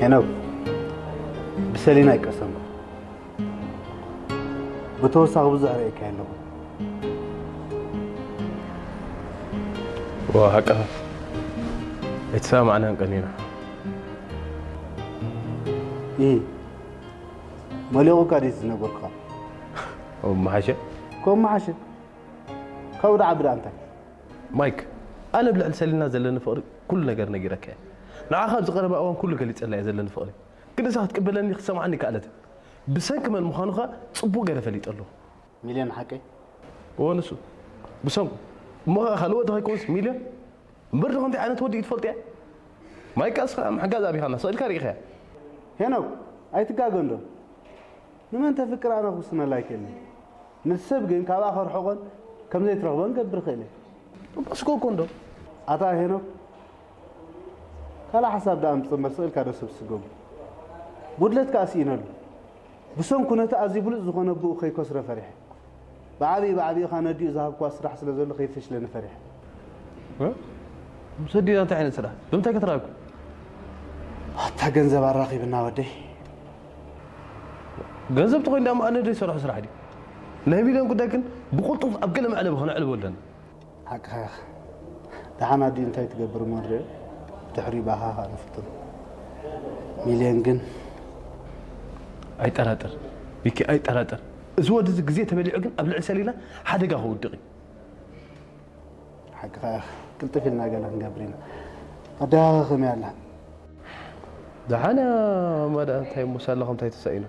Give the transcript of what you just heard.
ሄኖክ፣ ብሰሊና ኣይቀሰንኩ። ብተወሳኺ ብዙሕ ርእየካ ኣለኹ። ዋ፣ ሓቅኻ ኣይተሰማማዕናን ቀኒና። ይህ መሊቑካ ድዩ ዝነበርኩኻ? ኦ፣ መሓሸ። ከም መሓሸ ካብኡ ደዓ ብዳ እንታይ? ማይክ፣ ኣነ ብልዕሊ ሰሊና ዘለኒ ፍቕሪ ኩሉ ነገር ነጊረካ እየ። ንዓኻ ኣብዚ ቀረባ እዋን ኩሉ ገሊጸላ እየ ዘለኒ ፍቕሪ። ግን እሳ ክትቅበለኒ ክትሰምዓኒ ከኣለት። ብሰንኪ መን ምዃኑ ኸኣ ጽቡቕ ገይረ ፈሊጠ ኣለኹ። ሚልዮን ሓቀይ? እወ፣ ንሱ። ብሰንኩ። እሞ ኸኣ ካልእ ወዲ ከይኮንስ ሚልዮን? እምበር ዶ ከምዚ ዓይነት ወዲ እዩ ትፈልጥያ? ማይክ፣ እስኻ ምሕጋዝ ኣቢኻና፣ ስቕ ኢልካ ርኢኻያ። ሄኖክ፣ ኣይትጋገ እንዶ። ንመን ተፍቅር ኣነ ክውስነላ ኣይክእልን። ነቲ ሰብ ግን ካብኣ ከርሕቖን ከም ዘይትረኽቦን ገብር ክእል እየ። እሞ ስጎጎ እንዶ። ኣታ ሄኖክ፣ ካልእ ሓሳብ ደኣ ኣምጽእ እምበር ስቕ ኢልካ ዶ ሰብ ስጎጉ? ጉድለት ከኣ ስኢነሉ። ብሰንኩ ነቲ ኣዝዩ ብሉጽ ዝኾነ ኣቦኡ ከይከስሮ ፈሪሐ። ብዓብዪ ብዓብዪ ኸኣ ነዲኡ ዝሃብክዋ ስራሕ ስለ ዘሎ ከይፈሽለኒ ፈሪሐ። እ? ምስ ኣዲና እንታይ ዓይነት ስራሕ? ብምንታይ ከተራኽቡ? ኣታ ገንዘብ ኣራኺብና ወደይ። ገንዘብ ተኾይኑ ደኣ ኣነ ዘይሰርሖ ስራሕ ድዩ? ናይ ሚልዮን ጉዳይ ግን ብቕልጡፍ ኣብ ገለ መዕለቢ ከነዕልቦ ኣለና። ሓቅኻ ኢኻ። ደሓን ኣዲኡ እንታይ ትገብር እሞ ንሪኦ። ድሕሪኡ ብኣኻ ኸኣ ንፍትኖ። ሚልዮን ግን ኣይጠራጠር ሚኪ፣ ኣይጠራጠር። እዚ ወዲ እዚ ግዜ ተበሊዑ ግን ኣብ ልዕሊ ሰሊና ሓደጋ ክውድቕ እዩ። ሓቅኻ ኢኻ። ቅልጥፍ ኢልና ገለ ክንገብር ኢና። ኣደኻ ከመይ ኣላ? ደሓን እያ ማማ፣ ደኣ እንታይ እሞ ሳላ ከምታይ ተሳኢና?